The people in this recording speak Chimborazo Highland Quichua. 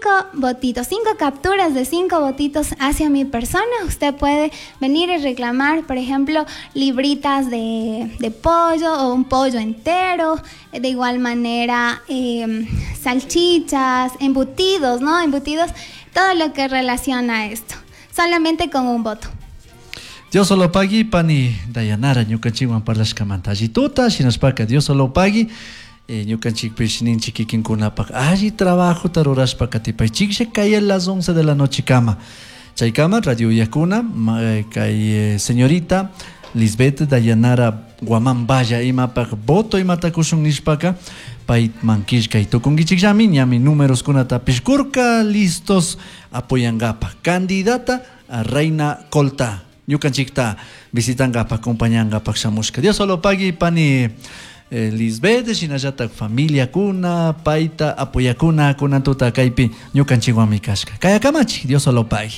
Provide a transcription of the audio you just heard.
5 votitos, 5 capturas de 5 votitos hacia mi persona, usted puede venir y reclamar, por ejemplo, libritas de pollo o un pollo entero, de igual manera salchichas, embutidos, ¿no? Embutidos, todo lo que relaciona a esto, solamente con un voto. Dios lo pagui pani Dayanara ñukanchikwan parlashkamanta alli tuta shinashpaka Dios lo pagui ñukanchikpish ninchik kikinkunapak alli trabajota rurashpa katipaychiklla kay a las 11 de la noche kama chaykama radio uyakuna kay señorita Lisbeth Dayanara Guamán Valla imapak voto imata kushun nishpaka payman killkay tukunkichikllami ñami números kunatapish kurka listos apoyankapak candidata a Reina Colta ñukanchikta visitankapak acompañankapak shamushka. Dios lo pagui pani Lisbeth shinallatak familiakuna payta apoyakuna kunan tuta kaypi ñukanchikwanmi kashka. Kayakamachi Dios lo pagui.